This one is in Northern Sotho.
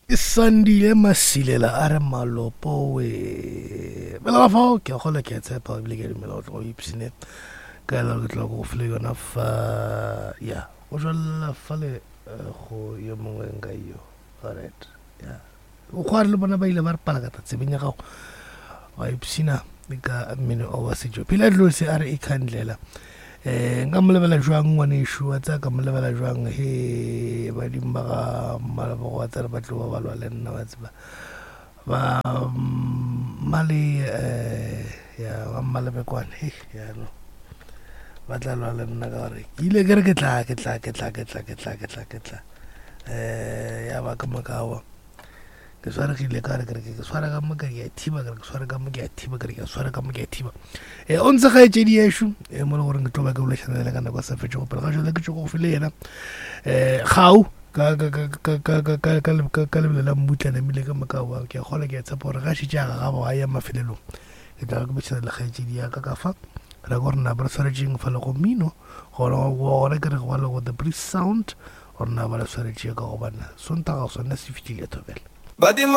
Sandile Masilela a re malopo we bela ba fao ke a kgona ke a tshepa ebile ke a dumela go tloga o ipsene ka ela ke tloga go file yona fa ya go jwalela fale eh, go yo mongwe nka yo alright ya o kgware le bona ba ile ba re palakata tsebeng ya gago wa ipshina ka mmino o wa setšo phela dilo se a re e khandlela um nka mo lebela jwang ngwanešu wa tsaya ka mo lebela jwang he badimo ba ga mmalebogo wa tsere ba tlo ba balwa le nna wa tseba ba mmale um ya ba mmalebekwane he yano ba tla lwa le nna ka gore ke ile ke re ke tla ke tla ke tla ke tla ke tla ke tla ke tla um ya ba ka mokawa ke swaregile ka re ke re ke swara ka mo ke a thiba ke re ke swara ka mo ke a thiba ke re ke swara ka mo ke a thiba e o ntse ga etšedi yešo e mo le gore ke tlo ba ke bolešana le ka nako sa fetše go pele ga jale ke tšo go file yena um gau ka ka ka ka ka ka ka ka ka ka lebelo la mmutla namile ka moka wa ke a kgola ke a tshepa gore ga šetše a gagabo a ya mafelelong ke tla ke bošana le kgaetšedi ya ka ka fa ra gore na ba re swaretšeng fa le go mino gore gore ke re go le go the breeze sound Gore na ba le swanetše ka gobane Sontaga sona se fihlile thobela. Badimo.